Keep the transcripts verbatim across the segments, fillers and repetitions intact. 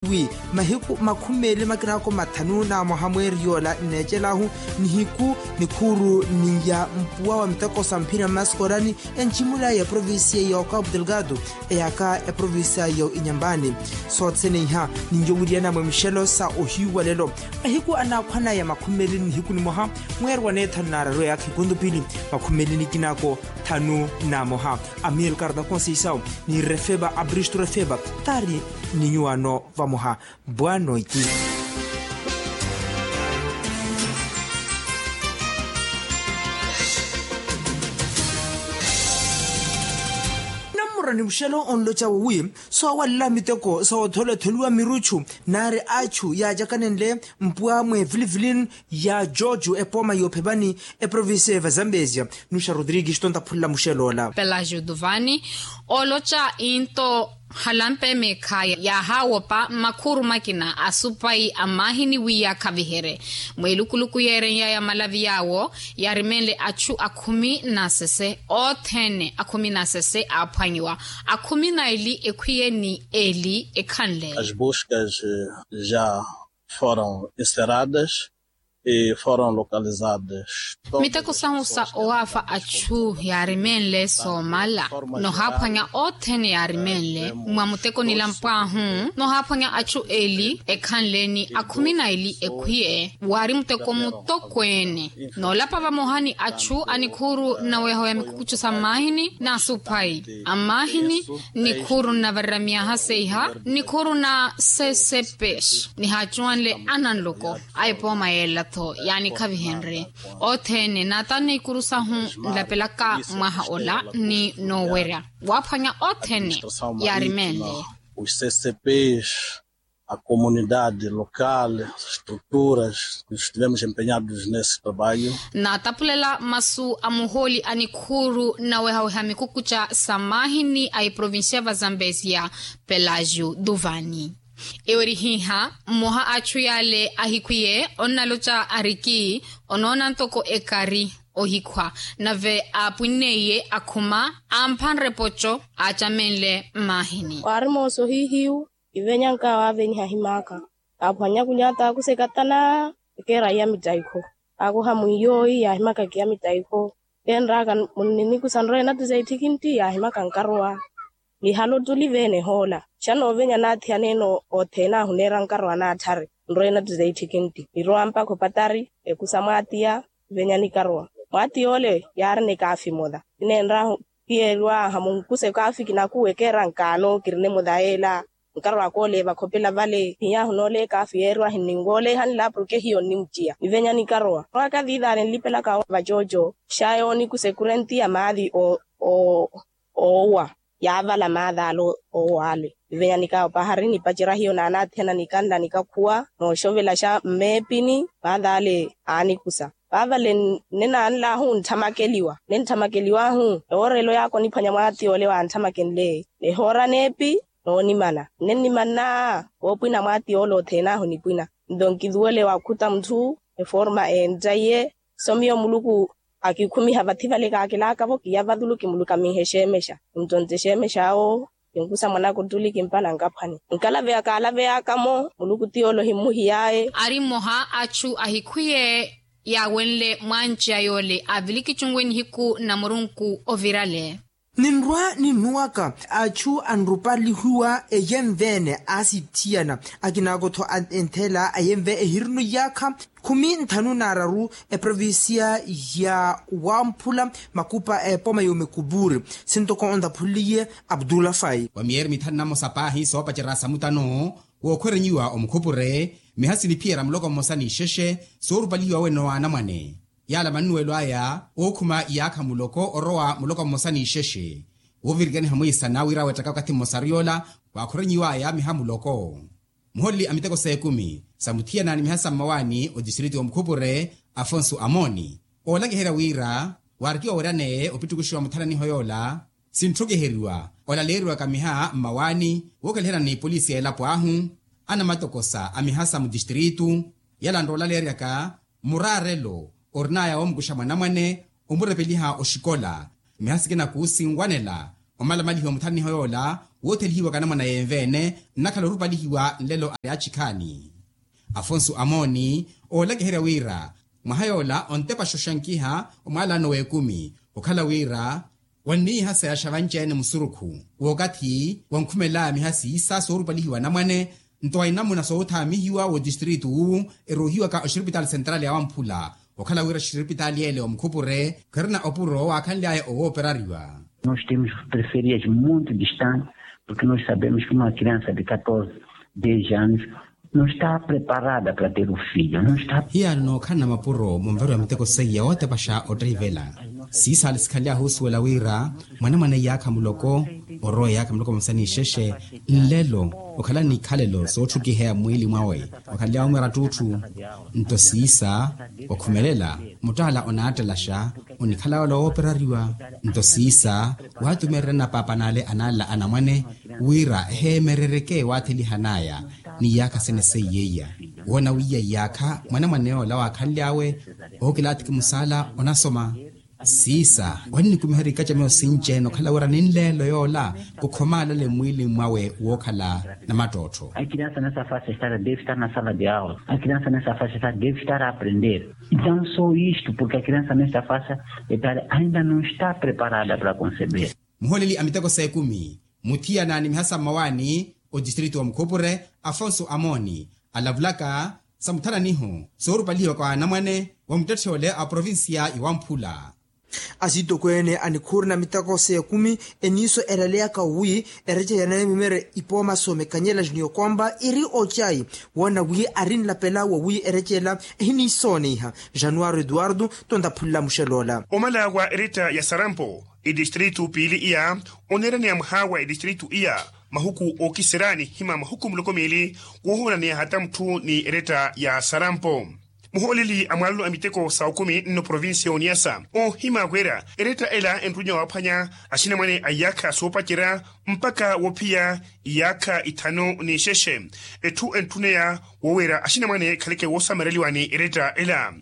wi mahiku makhumi meeli makinaako mathanu na mwaha mweeri yoola nneecelahu nihiku nikhuuru ni ya mpuwa wa miteko sa mphira mmaskoorani enjimula ya eprovincia ya okapu delgado eyaka eprovincia ya inyambani. Soothene iha ninyo wiriyanamwe mixelo sa ohiiwa lelo mahiku anaakhwanaya makhumi meeli nihiku nimoha mweeri wa neethanu naararu eyaka ikuntupili makhumi meeli nikinaako thanu na moha. Amilcar da conceição ni refeba abristo refeba taari ni nyuwano vamoha. Bwanoiki nammurani muxelo onlocawo wi soowalela miteko soothola etholiwa miruchu naari achu yaacakanenle mpuwa mweevilivilini ya jojo epooma yoophepani eprovincia eva zambesia. Nuxa rodrigues tontaphulela muxeloola pelagio duvani ooloca into halampe meekhaya yaahawopa makhuru makina asupai amahini wi yaakhaviherye mweelukuluku yeerenyaya malavi yaawo yaarimenle achu akhumi na sese othene akhumi na sese aaphwanyiwa akhumi na eli ekhwiye ni eli ekhanle. As buscas já foram encerradas e foram localizadas miteko sahu sa owaafa achu yaarimenle soomala nohaaphwanya othene yaarimenle mwa muteko nilampwaahu nohaaphwanya achu eli ekhanle ni akhumi na eli ekhwiye waari muteko mutokweene noolapa vamoha ni achu a nikhuuru na weeho ya mikukuchu sa mmaahini na asupai a mmaahini nikhuuru nnavarera myaha seiha nikhuuru na sesepex nihaacuwanle ananloko a epooma yeela-tho yaanikhavihenrye othene naata niikuru sahu nlapelaka mwaha ola ni noowerya waaphwanya othene yaarimenle. Os ccps a comunidade local estruturas estivemos empenhados nesse trabalho. Naatapulela masu a muhooli a nikhuuru nnawehaweha mikukucha sa mmaahini a eprovincia va zambesia pelagio duvani ewerihihha mmoha a achu yaale ahikhwiye onnaloca ariki onoona ntoko ekari ohikhwa nave aapwinneiye akhuma amphanre poco aacamenle mmaahini. Waari mooso hihiyu ivenyanka waavenyiha ahimaaka aaphwanya kunyata aakuseka tana ekeera iya mittaikho aakuha mwiiyooyi yaahimaka kiya mittaikho keenraaka munnimikusa nroye natuza itthikhintti yaahimaka nkarowa. Lihalo tuli veene ehoola xa noovenya naathiyaneene othene ahuneera nkarowa naatthari nroye natuza itthikhintti nirowa mpakha opatari ekusa mwaatiya. Venya nikarowa mwaatiya ole yaarina ekaafi emola kineenrahu kiyeeriwaaha munkuse ekaafi kinakuwa ekeera nkaano kirina emola yeela nkarowa koole vakhopela vale hinyaahu noole ekaafi yeeriwa hinninwooleha nla porke hiyo nnimuciya nivenya nikarowa mwaka viivaale nlipelaka vacooco xa yoonikusa ekurenti ya maali oowa yaavala maali ale oowa ale nivenya nikaawo pahari nipacerya hiyo naanaathiyana nikanla nikakhuwa nooxovelaxa mmeepini maali ale aanikusa vaavale nne naanlahu ntthamakeliwa nne ntthamakeliwaahu ewoorelo yaakoniphwanya mwaati ole waantthamakhenle ehoora neepi noonimana nne nnimanna woopwina mwaati ole othene ahu nipwina nto nkiluwele wakhuta mutthu eforma eenttaiye so miyo muluku akikhumiha vathi vale kaakilaaka-vo kiya vathulu kimulukaminhe exeemexa kintontte exeemexa awo kinkusa mwanaka ottuli kimpana nkaphwani nkalaveya kaalaveyaka-mo muluku ti ole ohimmuhiy'aye. Ari mmoha achu ahikhwiye yaawenle mwanci a yoole aavilikicuwe nihiku na murunku ovirale. Ninrwa ninnuwaka achu anrupalihiwa eyenve-ene aasitthiyana akinaako-tho entheela ayenve ehirino iyaakha khumi nthanu n'araru eprovincia ya wamphula makupa a epoma y'omekupuri sintoko ontaphuliye abdullah fai. Wa miyeeri mithanu na mmosa paahi soopacerya samutano wookhwerenyiwa omukhupure miha siniphiyerya muloko mmosa n'ixexe soorupalihiwa wene wa anamwane yaala mannuwelo aya ookhuma iyaakha muloko orowa muloko mmosa n'ixexe woovirikaniha mwiisana wira weettaka wakathi mmosa ariy'ola waakhorenyiw'aya miha muloko. Muholeli a miteko s'ekumi sa muthiyana ni miha sa mmawaani otistriti w'omukhupure afonso amooni oolakiherya wira waarikiwa weeryaneye opittukuxiwa muthananiho yoola sintthukiheriwa olaleeriwaka miha mmawaani wookhalihana n'ipolisi y'elapo ahu anamatokosa a miha sa mutistritu yala nroolaleeryaka muraarelo orin'aya woomukuxa mwanamwane omurepeliha oxikola miha sikina kuusinwanela omalamalihiwa muthananiho yoola Woothelihiwaka anamwana yenve-ene nnakhala orupalihiwa nlelo ari achikhaani. Afonso amooni oolakiherya wira mwaha yoola ontepaxa oxankiha omwaalano w'ekumi okhala wira wanniiha seyaxa vanci-ene musurukhu w'okathi wankhumelaya miha siisa soorupalihiwa anamwane nto wa inamuna soothaamihiwa w'odistritu wu eruuhiwaka oxiripitaali sentrali ya wamphula okhala wira oxiripitaali ele omukhupure kherina opuro waakhanly'aya owooperariwa. Nos temos preferias muito distantes porque nos sabemos que uma criança de catorze, dez anos não está preparada para ter o filho, não está. Hiyano nookhalana mapuro munvariwa miteko seiya wootepaxa otteivela siisaali sikhaly'ahu osuwela wira mwanamwane iyaakha muloko orowa iyaakha muloko vamosa n'ixexe nlelo okhala n'ikhalelo sootthukiheya mmwiili mwawe okhaly'awe omwera ttuutthu. Nto siisa wakhumelela muttaala onaattelaxa onikhala yoola wooperariwa. Nto siisa waatumeererya napaapa n'ale anaalela anamwane wira eheemerereke waathelihan'aya n'iyaakha sene seiyeiya woona wiiya iyaakha mwanamwane yoola waakhanly'awe ookilaathiki musaala onasoma. Siisa wannikumiherya ikaca meyo sinci-ene okhala wira ninleelo yoola kukhomaalale mmwiili mwawe wookhala namattottho. Akiriansa nesa fasa estar deve estar na sala de aula akiriansa nesa fasa estar deve estar a aprender. Entaw so isto porque akiriansa nesa fasa estar ainda no está preparada para conceber. Muhooleli a miteko s'ekumi muthiyana ni mihasa mmawaani odistritu wa mukhupure afonso amooni alavulaka sa muthananiho soorupalihiwaka wa anamwane wa muttetthe ole a provincia ya wamphula. Asitokweene a nikhuuri na miteko s'ekumi eniiso eraleyaka wi ereca ya naimimere ipooma soomekanyela junior komba iri ocayi woona wi ari nlapela wa wi erecela ehiniisooniha. Januwaro eduwardo tontaphunla muxeloola. Omala wa eretta ya sarampo edistritu piili iya oneeraneya mwaha wa edistritu iya mahuku ookiserya nihima mahuku muloko miili woohonaneya hata mutthu ni eretta ya sarampo. Muhooleli a mwaalano a miteko sa okumi nno provincia ya oniyasa oohima wira eretta ela enrunya waaphwanya axinamwane a iyaakha soopacerya mpakha woophiya iyaakha ithanu n'ixexe. Etthu entthuneya woowerya axinamwane ekhaleke woosamereliwa ni eretta ela.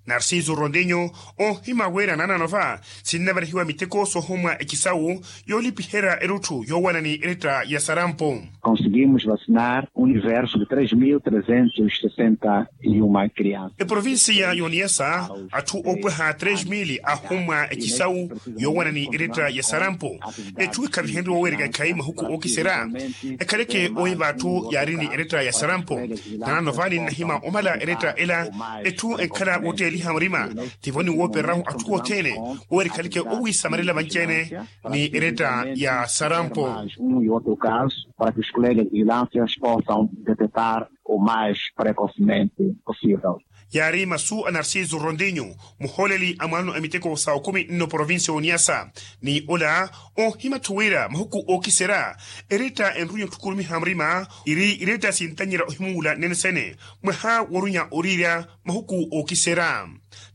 Narciso rondinho oohima wira naanano va sinnavarihiwa miteko soohomwa ekisawu yoolipiherya erutthu yoowana ni eretta ya sarampo. Conseguimos vacinar universo de três mil trezentos e sessenta e uma crianças. Eprovincia ya oniyasa atthu oopweha três mil ahomwa ekisawu yoowana ni eretta ya sarampo. Etthu ekhavihenrye woowereka ekhayi mahuku ookiserya ekhaleke oiva atthu yaari ni eretta ya sarampo. Naanano vani nnahima omala eretta ela etthu enkhala wootteliha murima tivo ni woopererahu atthu othene woowereka ekhaleke owiisamarela vanci-ene ni eretta ya sarampo. Um e outro caso para que os colegas vigilantes possam detetar o mais precocemente possível. Yaari masu a narciso rondinho muhooleli a mwaalano a miteko sa okumi nno provincia ya oniyasa ni ola oohima-tho wira mahuku ookiserya eretta enrunya otthukurumiha murima iri eretta sintanyerya ohimuula nnene sene mwaha woorunya oriirya mahuku ookiserya.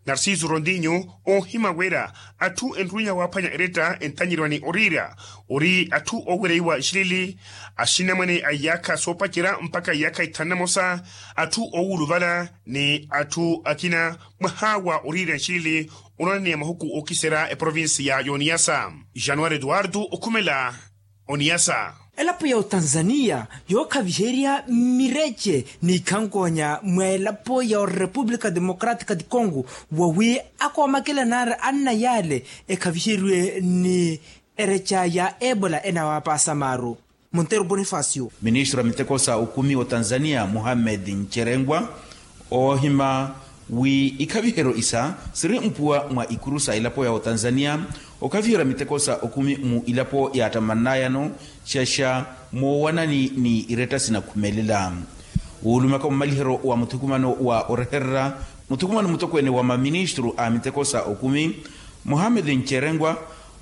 Narciso rondinho oohima wira atthu enrunya waaphwanya eretta entanyeriwa ni oriirya ori atthu oowereiwa nxilili axinamwane a iyaakha soopacerya mpakha iyaakha ithanu namosa atthu oowuluvala ni atthu akina mwaha wa oriirya nxilili onoonaneya mahuku ookiserya eprovincia ya oniyasa. Januwari eduwardo okhumela oniyasa. Elapo ya otanzaniya yookhaviherya mirece n'ikhankoonya mwa elapo ya orepupulika democratika di congo wawi akoomakela naari anna yaale ekhaviheriwe ni ereca ya ebola enawaapaasa maaru. Montero bonifacio. Ministru a miteko sa okumi otanzaniya muhammed ncerengwa oohima wi ikhaviheryo isa siri mpuwa mwa ikuru sa elapo ya otanzaniya okhaviherya miteko sa okumi mu ilapo yaattamananayano xaxa moowanani ni iretta sinakhumelela. Wuulumaka mumaliheryo wa muthukumano wa orehererya muthukumano mutokweene wa maministru a miteko sa okumi muhammed ncerengwa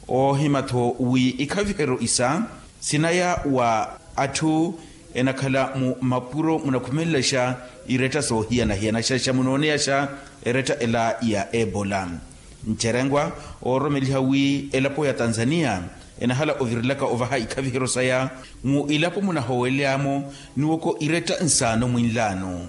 oohima-tho wi ikhaviheryo isa sinaya wa atthu enakhala mu mapuro munakhumelelaxa iretta soohiyana-hiyana xaxa munooneyaxa eretta ela ya ebola. Ncerengwa oororomeliha wi elapo ya tanzaniya enahala ovirilaka ovaha ikhaviheryo saya mu ilapo munahoweleyamo niwoko iretta nsaano mwinlaano.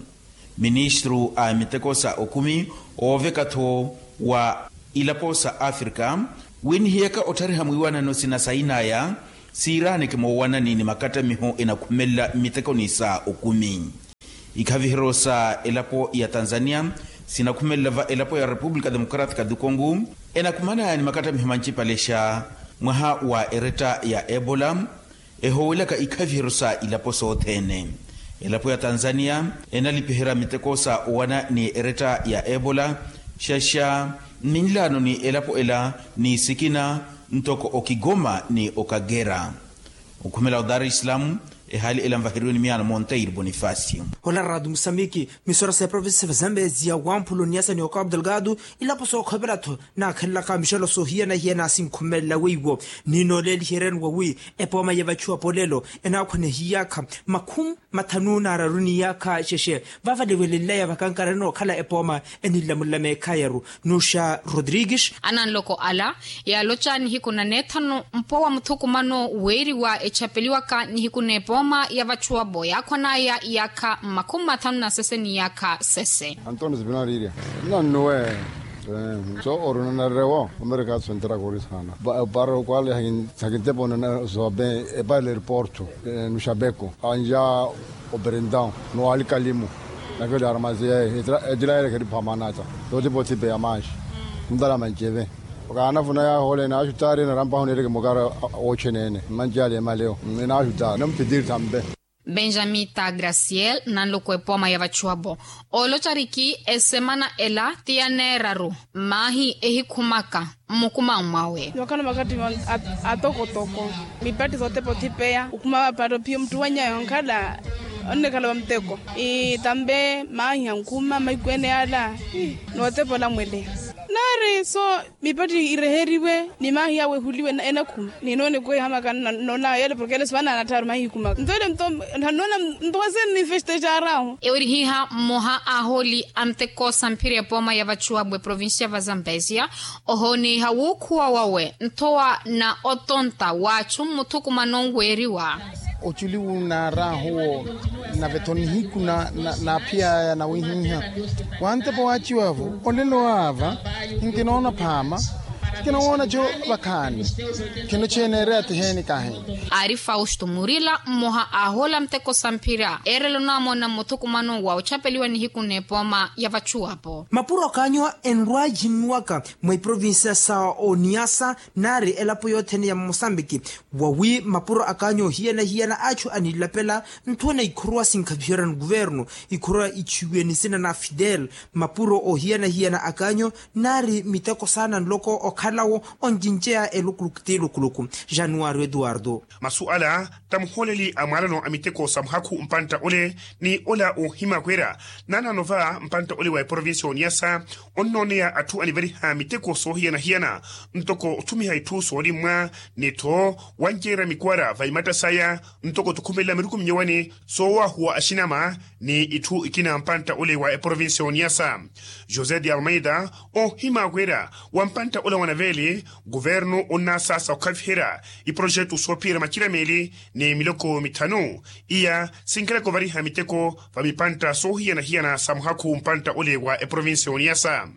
Ministru a miteko sa okumi ooveka-tho wa ilapo sa afrika wi nihiyaka otthariha mwiiwanano sinasayinaya Siiraaneke moowanani ni makattamiho enakhumelela mmitekoni sa okumi. Ikhaviheryo sa elapo ya tanzania sinakhumelela va elapo ya repupulika democratika du kongo, enakhumana ni makattamiho mancipalexa mwaha wa eretta ya ebola. Ehoowelaka ikhaviheryo sa ilapo sothene, elapo ya tanzania enalipiherya miteko sa owana ni eretta ya ebola, xaxa mminlaano ni elapo ela ni sikina ntoko okigoma ni okagera. Okhumela o dar es salaam, ehaali ela nvaheriwe ni miyaano monteiro bonifacio. Ola rato musamiki, misora sa eprovinsi sa vazambezia wamphulo niyasa ni okabu delgado, ilapo sookhovela-tho naakhelelaka mixelo soohiyana-hiyana sinkhumelela weiwo. Ni nooleeliheryani wawi epooma ya vachuwa polelo enaakhwanehiyaka makhumi mathanu na araru ni iyaka xexe. Vavalewelenlaya vakankarani nookhala epooma enilamulila meekhayaru. Nuxa rodrigues. Ananloko ala yaaloca nihiku na neethanu mpo wa muthukumano weeriwa echapeliwaka nihiku n'epooma ya vachuwapo yaakhwanaya iyaka makhumi mathanu na sese ni iyaka sese. Antones binariria nannuwe. So orunanarewo omereka atswentera kori sana. Para okwale hakintepo nana zobe epale airporto. Nuxapeko anja operentao nowalikalimu. Nakeli armazi yaye etilayerekheri phamanata. Yotipo thipe ya manxi ntala manceve. Okaanafuna yahoole naaxutari narampaho neereke mukara woocheneene. Mmanci ale emaleo naaxutari namphitiri thampe. Benjamita graciel nanloko epooma ya vachuwapo oolocariki esemana ela ti ya neeraru maahi ehikhumaka. Mmukumawu mwawe. Yookhala makattivo atokotoko mipatti sotepa othipeya okhuma vapatto phiyo muttu wanyawe onkhala onnekhala vamuteko itampe maahi ankhuma mahiku ene ala. Nootepa olamwele naari so mipatti ireheriwe ni maahi awehuliwe enakhuma. Ninoone kweyo hamakana noona yele porke ele sivana anattharu mahiku maka nto ele nto nnoona nto wase nifestexarahu. Ewerihiha mmoha a ahooli a muteko samphiri epooma ya vachuwapo eprovincia va zambezia ohooneyiha wuukhuwa wawe nthowa na otonta w'achu mmuthukumano weeriwa. Oculi wunaarahu wo nave-tho nihiku naaphiyaya nawihiha wantepo waaciwa-vo olelo aava nkinoona phaama. Nkinowoona-co vakhaani khino cheneereya tiheeni kahi. Aari fausto murila mmoha a ahooli a muteko samphira eerela onaamona mmuthukumano wa ochapeliwa nihiku n'epooma ya vachuwapo. Mapuro akaanyo enrwajinnuwaka mwa iprovinsiya sa oniyasa naari elapo yothene ya mosambiki wawi mapuro akaanyo ohiyana-hiyana achu anilapela nthuwe na ikhuruwa sinkhaviherya ni kuvernu ikhuruwa ichiwiwe nisina na fidel. Mapuro ohiyana-hiyana akaanyo naari miteko saana nloko okhalawo oncinceya elukuluku ti lukuluku. Januwari eduwardo. Masu ala ta muhooleli a mwaalano a miteko sa muhakhu mpantta ole ni ola oohimya kweera naanaano va mpantta ole wa eprovinsi ya oniyasa onnooneya atthu aniveriha miteko soohiyana-hiyana ntoko othumiha itthu soolimmwa ni-tho wanceerya mikwara va imatta saya ntoko tukhumelela miruku minyowani soowahuwa axinama ni itthu ikina mpantta ole wa eprovinsi ya oniyasa. José de almeida oohimya kweera wa mpantta ola wa naveeli kuvernu onnasaasa okhaviherya iprojetu soophiyerya macirameli ni miloko mithanu iya sinkalaka ovariha miteko va mipantta soohiyana-hiyana sa muhakhu mpantta ole wa eprovinsi ya oniyasa.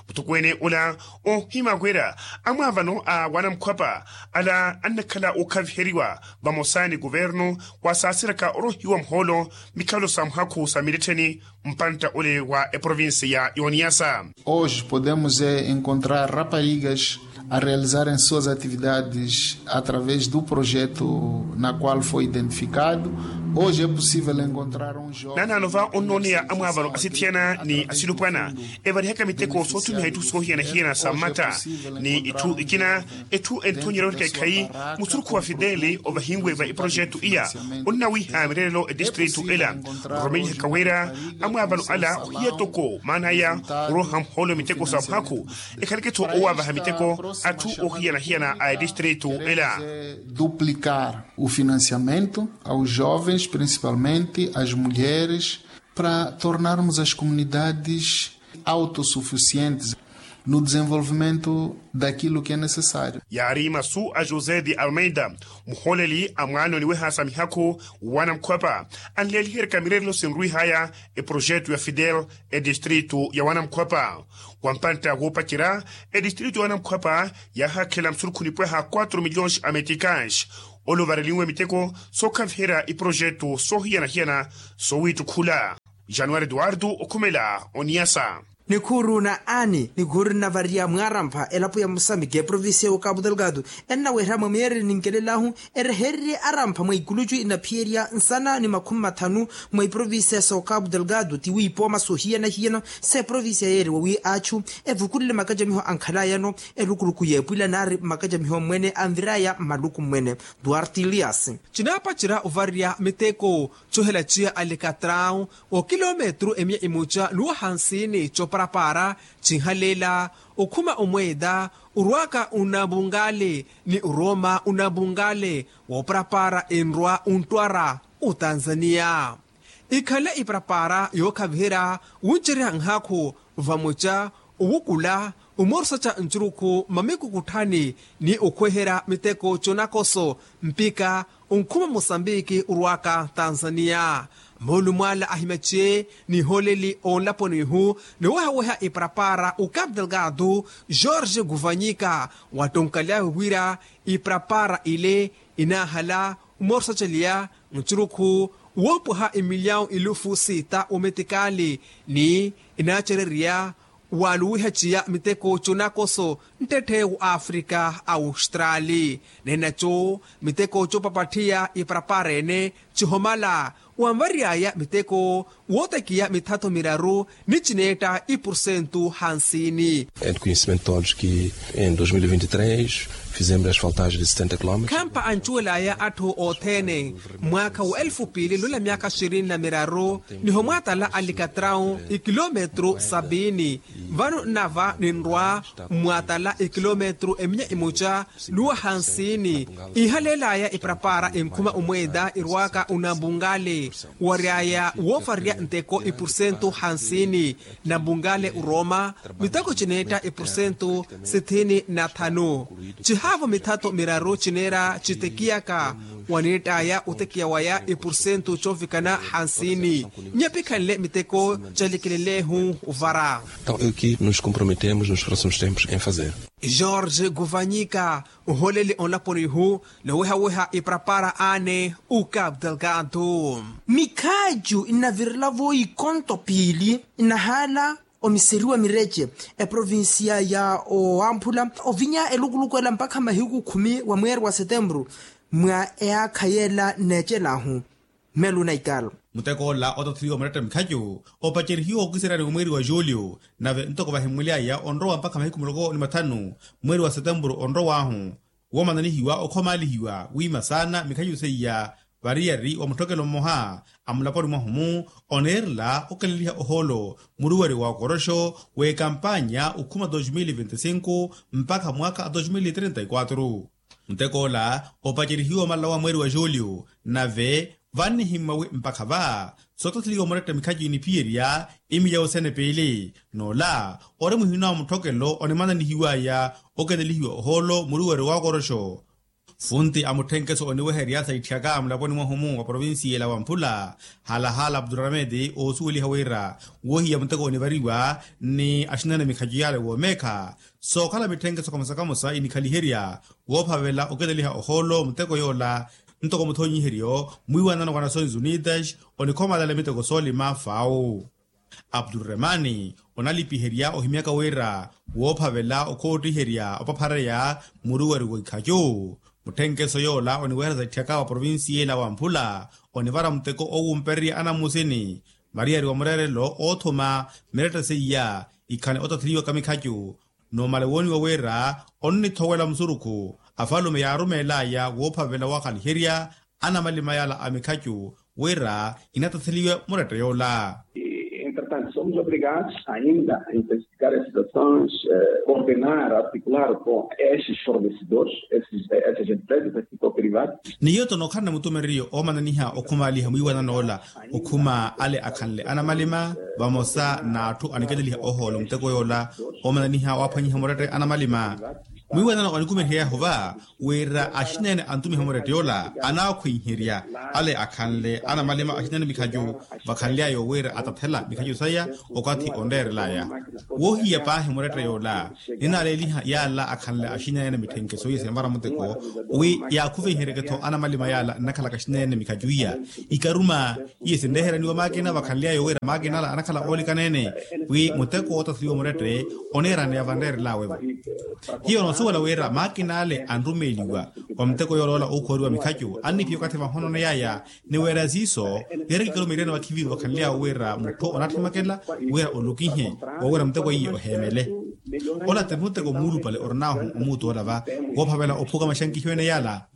Muthukweene ola oohimya kweera amwaavano a wanamukhwapa ala annakhala ookhaviheriwa vamosa ni kuvernu khwasaaseraka orohiwa muhoolo mikhalo sa muhakhu sa milettheni mpantta ole wa eprovinsi ya oniyasa. Hoje podemos encontrar raparigas a realizarem suas atividades através do projeto na qual foi identificado. Hoje é possível encontrar um jovem naanaano va onnooneya amwaavano asithiyana ni asilupwana evarihaka miteko soothumiha itthu soohiyana-hiyana sa mmatta ni itthu ikina. Etthu enthonyerya owerika ekhayi musurukhu wa fideli ovahinwe va eprojetu iya onnawiha mirerelo etistritu ela. Romenyihaka wira amwaavano ala ohiya toko maana aya oroha muhoolo miteko sa muhakhu ekhaleke-tho owaavaha miteko atthu ohiyana-hiyana a etistritu ela. Duplicar o financiamento aos jovens principalmente as mulheres para tornarmos as comunidades autossuficientes no desenvolvimento daquilo que é necessário. Yaari masu a josé de almeida muhooleli a mwaano oniweha sa mihakhu wanamukhwapa anleeliheryaka mirerelo sinrwihaya eprojetu ya fidel etistritu ya wanamukhwapa. Wa mpantta woopacerya etistritu ya wanamukhwapa yaahakhela musurukhu nipwaha quatro milhões a meticais Ole ovarelinwe miteko sookhaviherya iprojetu soohiyana-hiyana soowiittukhula. Januwari eduwardu okhumela oniyasa. Nikhuuru na ani nikhuuru nnavarya mwaarampha elapo ya musambiki eprovincia ya okapu delgado, ennawerya mwa miyeereri ninkelelaahu erehererye arampha mwa ikulucu inaphiyerya nsana ni makhumi mathanu mwa iprovincia ya okapu delgado tiwiipooma soohiyana-hiyana. S'eprovincia yeeriwa wi achu evukulile makacamiho ankhalayano erukuruku y'epwila naari makacamiho mmwene anviraya mmaluku mmwene duarte elias. Chinaapacerya ovarya miteko chohela chiya alikatrawu okilometru emiya imucha nuwa hansini choparapara chinhaleela okhuma omweeda orwaka unabungale ni oroma unabungale wooparapara enrwa ontwara otanzania. Ikhale iparapara yookhaviherya wuncerya nhakhu vamoca owukula omoorusaca ncurukhu mamikukutthani ni okhweherya miteko conakoso mpika onkhuma mosambiki orwaka tanzania. Moolumwaala ahimaciye nihooleli onlaponi ihu niwehaweha iparapara okapu delgado george guvanyika wattonkaly'awe wira iparapara ile inaahala omoorusaceliya ncurukhu woopwaha emilyawu ilufu sita ometikali ni inaacererya waluwiha ciya miteko conakoso nttetthe wa afrika awustrali. Nenaco miteko coopapatthiya iparapara ene cihomala wanvary'aya miteko wootekiya mithatho miraru ni cineetta ipursentu hansini. Em conhecimento todos que em dois mil e vinte e três fizemos asfaltagem de setenta quilómetros. Khampa ancuwel'aya atthu othene mwaakha wa elfu piili nula myaakha xirini na miraru niho mwaatala alikatrawu ikilometru sabiini. Vano nnava ninrwa mwaatala ikilometru eminya imuca nuwa hansini ihaleelaya iparapara enkhuma omweeda irwaka unambungale waryaya woovarya nteko ipursentu hansini. Nambungale urooma miteko cineetta ipursentu sithini na thanu cihaavo mithatho miraru cineera citekiyaka waneett'aya otekiya waya ipursentu coovikana hansini. Nyapikhanle miteko calikelelehu ovara. Então é o que nos comprometemos nos próximos tempos em fazer. George guvanyika oholeli onlaponi ihu nowehaweha iparapara ane ukapu delgado. Mikhaaju nnavirelavo ikonto piili nnahaala omiseriwa mirece eprovincia ya owamphula ovinya elukuluku ela mpakha mahiku khumi wa mweeri wa setemburu mwa eyaakha yeela nneecelahu. Melu na ikalo. Muteko ola otathiriwa muretta mikhacu opacerihiwa okiserani wa mweeri wa julio nave ntoko vahimuly'aya onrowa mpakha mahiku muloko ni mathanu mweeri wa setemburu onrow'ahu woomananihiwa okhomaalihiwa wiima saana mikhacu seiya. Variyari wa mutthokelo mmoha a mulaponi mwahu-mu oneerela okeleliha ohoolo muruwari wa okoroxo w'ekampanya okhuma dos mil e vinte e cinco mpakha mwaakha a dos mil e trinta e quatro. Muteko ola opacerihiwa omalala wa mweeri wa julio nave vannihimmwa wi mpakha va sootatheliwa muretta mikhacu iniphiyerya imiyawu sene piili n'ola ori muhina wa mutthokelo onimananihiw'aya okelelihiwa ohoolo muruwari wa okoroxo. Funti a mutthenkeso oniweherya saitthiyaka mulaponi mwahu-mu wa provincia ela wa mphula haalahaala abdurahamedi oosuweliha wira woohiya muteko onivariwa ni axinene mikhacu yale woomeekha sookhala mitthenkeso kamosa kamosa inikhaliherya woophavela okeleliha ohoolo muteko yoola ntoko muthoonyiheryo mwiiwanano wa nações unidas onikhomalale miteko soolima fau. Abdurremani onalipiherya ohimyaka wira woophavela okhoottiherya opaphareya muruwari w'ikhacu. Mutthenkeso yoola oniweherya saitthiyaka wa provincia ela wa mphula onivara muteko owumpererya anamusini mariyari wa mureerelo oothuma miretta seiya ikhane otatheriwaka mikhacu numale wooniwa wira onnithowela musurukhu afalume yaarumeel'aya woophavela waakhaliherya anamalima yala a mikhacu wira inatatheliwe muretta yoola. Entretanto somos obrigados ainda a intensificar as situações, ordenar articular com esses fornecedores esses empresas a que cooperivar. Ni yoto nookhalana mutumereriyo oomananiha okhumaaliha mwiiwanano ola okhuma ale akhanle anamalima vamosa n'atthu aniketeliha ohoolo muteko yoola oomananiha waaphwanyiha murette anamalima. Mwiiwanano onikumerihery'ahu va wira axineene antumiha murette yoola anaakhwiherya ale akhanle anamalima axineene mikhacu vakhanly'aya wira atathela mikhacu saya okathi onreerel'aya. Woohiya paahi murette yoola ninaleeliha yaala akhanle axineene mitthenke soohiya sinvara muteko wi yaakhuvenhereke-tho anamalima yaala nnakhalaka axineene mikhacu iya ikaruma iye sinreheraniwa maakina vakhanly'aya wira maakin'ala anakhala oolikaneene wi muteko wootatheliwa murette oniiraneya vanreerel'awe-vo. Hiyo noosuwela wira maakin'ale anrumeeliwa wa muteko yooloola ookhuwariwa mikhacu anniphiya okathi vahono neyaya ni wira siiso yeerekikelo miiriyani vakhiviru vakhanly'awe wira mutthu onaatthemakela wira olukihe woowira muteko iye oheemele. Ola ti muteko muulupale orin'ahu omuutu ola va woophavela ophuka maxankihiwene yaala.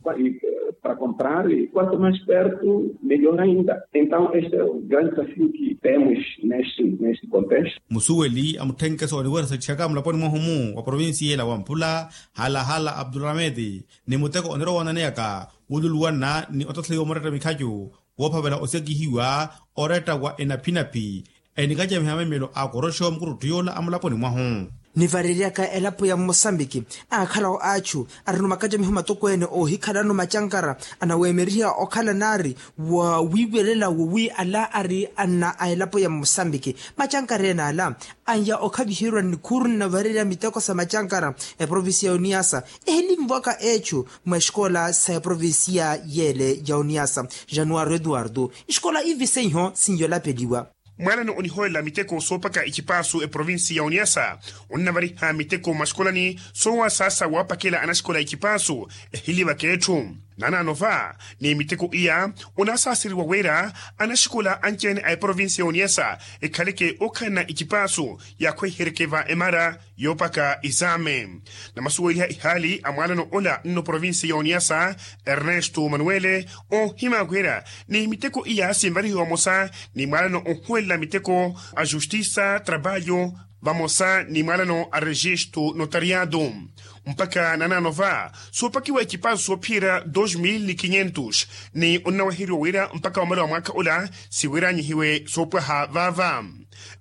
Para comprar e quanto mais perto melhor ainda. Então este é o grande desafio que temos neste contexto. Musuweli a mutthenkeso oniweresa icihaka mulaponi mwahu-mu wa provincia ela wampula halahala abdulhamedi ni muteko onirowa onaneyaka wululuwanna ni otatheliwa muretta mikhacu woophavela osekihiwa oretta wa enaphinaphi enikacamiha mamimelo a koroxo mukurutthu yoola a mulaponi mwahu. Nivareryaka elapo ya mmosambiki aakhala-wo achu arino makacamiho matokweene oohikhalano macankara anaweemeriha okhala naari wa wiiwelela wowi ala ari anna a elapo ya mmosambiki macankara ene ala anya okhaviherwa nnikhuru nnavarerya miteko sa macankara eprovincia ya oniasa ehilinvwaka echu mwa esikola sa eprovincia yeele ya oniasa. Januwari eduwardo isikola ivi seiho sinyo lapeliwa. Mwalano onihoolela miteko soopaka ecipaasu eprovincia ya oniasa onnavariha miteko mwa sikolani soowasaasa waapakela anaxikola ecipaasu ehilivaka etthu. Nanaano va ni miteko iya onaasaaseriwa wira anaxikola anci-ene a eprovincia ya oniasa ekhaleke okhalana ecipaasu yaakhwehereke va emara yoopaka isaame. Namasuweliha ihaali a mwaalano ola nno provincia ya oniasa ernesto manuele oohima wira ni miteko iya sinvarihiwa vamosa ni mwaalano ohuwelela miteko a justisa trabalho vamosa ni mwaalano a registo notariado. Mpakha nanaano va soopakiwa ecipaasu soophiyerya dos mil ni quinhentos ni onnawaheriwa wira mpakha wamala wa mwaakha ola siwiranyihiwe soopwaha vaava.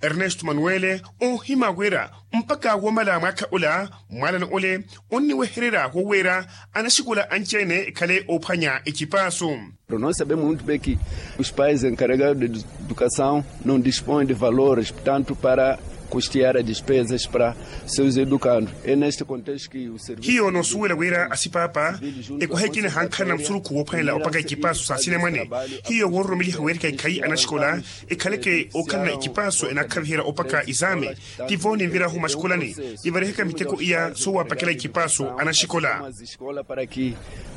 Ernesto manuele oohima wira mpakha wamala mwaakha ola mwaalano ole onniwehererya wowira anaxikola anci-ene ekhale oophwanya ecipaasu. Para nós sabemos muito bem que os pais encarregados de educação não dispõem de valores portanto para custear a despesas para seus educandos. É neste contexto que o serviço hiyo noosuwela wira asipaapa ekwaha ekina hankhalana musurukhu woophwanela opaka ecipaasu sa asinamwane hiyo woororomeliha weerika ekhayi anaxikola ekhaleke ookhalana ecipaasu enaakhaviherya opaka isaame. Tivo ninvirahu mwaxikolani nivarihaka miteko iya soowaapakela ecipaasu anaxikola. Escola para que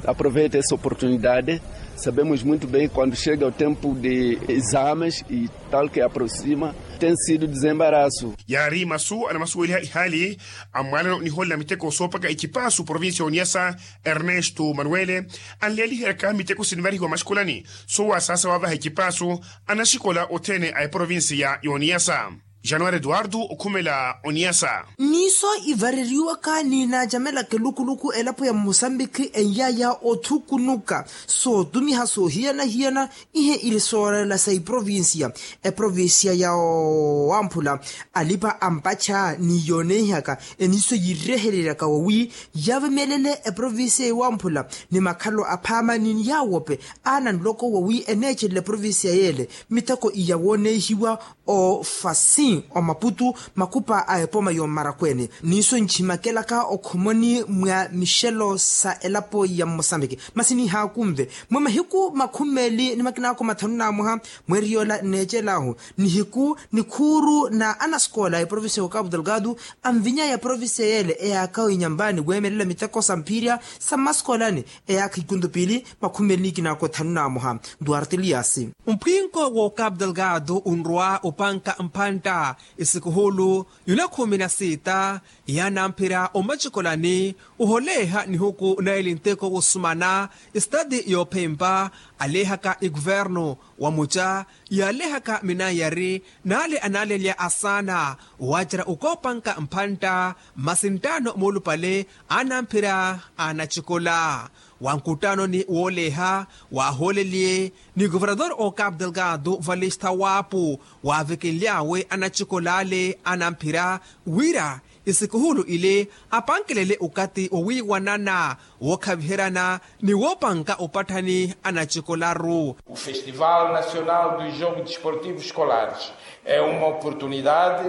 aproveite essa oportunidade. Sabemos muito bem quando chega o tempo de exames e tal que aproxima tem sido desembaraço. Yaari masu anamasuweliha ihaali a mwaalano nihoolela miteko soopaka ecipaasu provincia ya oniasa ernesto manuele anleeliheryaka miteko sinvarihiwa mwaxikolani soowasaasa waavaha ecipaasu anaxikola othene a eprovincia ya oniasa. Januwari eduwardo okhumela oniasa. Niiso ivareriwaka ni naacamelaka elukuluku elapo ya mosambiki eyaaya othukunuka sootumiha soohiyana-hiyana ihe ili soorela sa iprovincia eprovincia ya wamphula alipa ampacha ni yooneihaka eniiso yirehereryaka wowi yavemelele eprovincia ya wamphula ni makhalo aphaama ni yaawope aana nloko wowi eneecelele eprovincia yeele miteko iya wooneihiwa ofasi omaputu makhupa a epoma yommarakweene. Niiso nchimakelaka okhomoni mwa mixelo sa elapo ya mmosambiki masi nihaakunve mwa mahiku makhumi meeli ni makinaako mathanu n'amoha mweeri yoola nneecel'ahu nihiku nikhuuru na anasikoola a eprovincia ya okapu delgado anvinyaya eprovincia yeele eyaakha oinyambaani weemelela miteko sa mphirya sa mmasikoolani eyaakha ikuntu piili makhumi meeli ni ikinaako thanu n'amoha. Duarte eliasi. Mphwinko w'okapu delgado onrwa opanka mpantta esikuhulu yula khumi na sita yaanamphira omacikolani oholeeha nihuku naili nteko wosumana estati yoophempa aleehaka ekuvernu wa muca yaalehaka minayari n'ale anaalelya asaana waacerya okoopanka mphantta masi nttaano moolupale aanamphira aanacikola. Wa nkuttanoni wooleha waahooleliye ni kuvernator okapu delgado valista waapu waavekenly'awe anatxikol'ale anamphira wira isikuhulu ile apankelele okathi wowiiwanana wookhaviheryana ni woopanka opatthani anatxikolaru. O festival nacional dos jogos desportivos escolares é uma oportunidade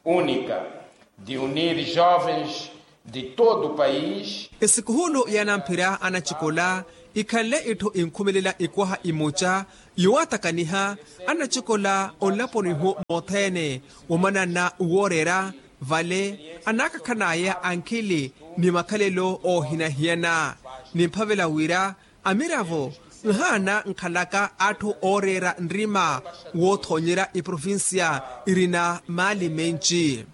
única de unir jovens de todo o país. Esikuhulu yanamphira anatxikola ikhanle itthu inkhumelela ikwaha imuca yoowatakaniha anatxikola onlaponi-ho mothene womanana wooreera vale anaakakhan'aya ankhili ni makhalelo oohina-hiyana. Nimphavela wira amiravo nhaana nkhalaka atthu ooreera nrima woothoonyerya iprovincia irina maali menci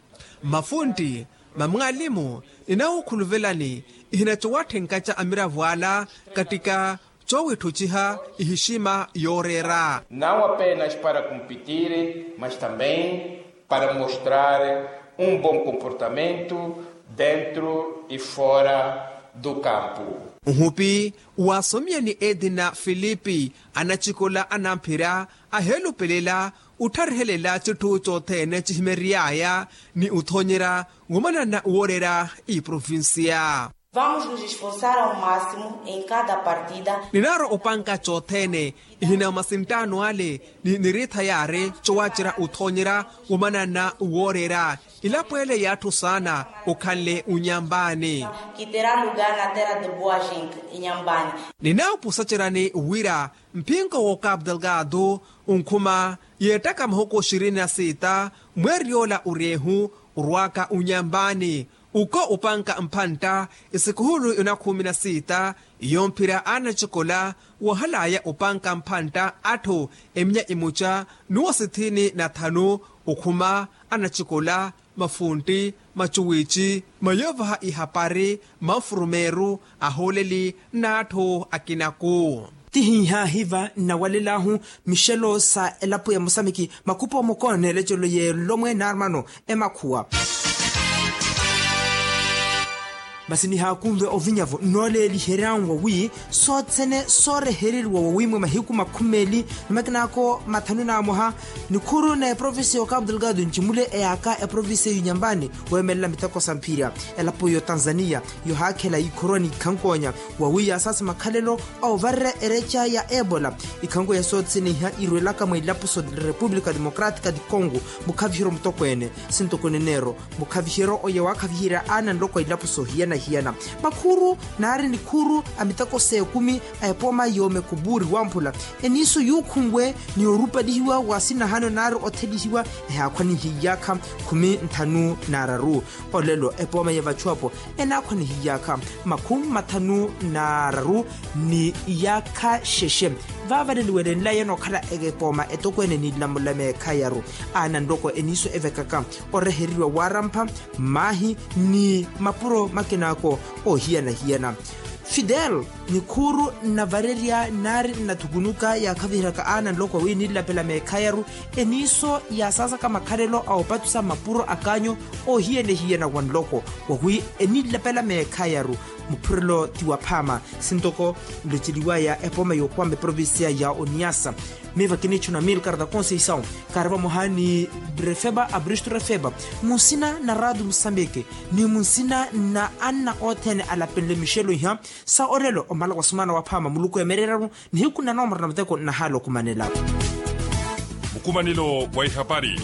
mafuntti mamwaalimu ninawukhuluvelani ihinatxowatthenkaca amiravo ala kattika coowitthutxiha ihixima yooreera. Não apenas para competir mas também para mostrar um bom comportamento dentro e fora do campo. Nhupi waasomiyani etina filipi anatxikola anamphira aheelupelela ottharehelela citthu cothene cihimery'aya ni othoonyerya womanana wooreera iprovincia. Vamos nos esforçar ao máximo em cada partida. Ninaarwa opanka cothene ihina masinttaano ale ni niriitha yaari cowacerya othoonyerya womanana wooreera ilapo ele y'atthu saana okhanle onyampaani. Quiterá lugar na terra de boa gente inyampaani. Ninaawupusaceryani wira mphinko w'okapu delgado onkhuma yeettaka mahuku xirini na siita mweeriy'ola oryeehu orwaaka onyampaani. Uko opanka mphantta esikuhulu yona khumi na siita yomphira anatxikola wahalaya opanka mphantta atthu eminya imuca n'uwo sithini na thanu okhuma anatxikola mafuntti macuwici mayoovaha ihapari manfurumeeru ahooleli n'atthu akinaku. Tihinhahiva nnawalela-hu mixelo sa elapo ya mosamiki makhupa omukono n'elecelo y'elomwe n'armano emakhuwa. Masi nihaakunve ovinya-vo nnooleeliheryanwa wi sothene soorehereriwa wawimwe mahiku makhumeli ni makinako mathanu n'amoha. Nikhuru na eprovincia y'okapu delgado ncimule eyaaka eprovincia y'unyambani weemelela miteko sa mphirya elapo y'otanzania yohaakhela ikhorwa n'ikhankonya wawi yaasaasa makhalelo a ovarerya ereca ya ebola. Ikhankonya soothene iha irwelaka mwa ilapo so república democrática de congo mukhavihiro mutokweene sintokweene neero mukhaviheryo oya waakhaviherya aana nloko a ilapo soohiyana-hiyana. Makhuru naari nikhuru a miteko s'ekumi a epooma y'omekuburi wamphula eniiso yuukhunwe ni orupalihiwa wa sinahano naari othelihiwa ehaakhwanihiyaakha khumi nthanu n'araru. Olelo epooma ya vachu apo enaakhwanihiyaakha makhumi mathanu n'araru ni iyaakha xexe. Vaavaleliwelenlayeno okhala epooma etokweene ni nlamula meekhayaru aana nloko eniiso evekaka oreheriwa waarampha mmaahi ni mapuro makinako oohiyana-hiyana. Fidel nikhuuru nnavarerya nnaari nnathukunuka yaakhaviheryaka aana nloko wi ninlapela meekhayaru eniiso yaasaasaka makhalelo a opatusa mapuro a kaanyo oohiyana-hiyana wa nloko wawi eninlapela meekhayaru. Muphurelo ti waphaama sintoko nloceliwaya epooma y'okwama eprovincia ya oniasa. Miiva kiniitthuna milkar da conceição kaari vamoha ni refeba abristo refeba munsina na rado musambike ni munsina na anna othene alapenle mixelo iha sa olelo omala wa sumana waphaama muluku emereeraru nihiku na noomoro na muteko nnahaala okumanela. Mukumanelo wa ihapari.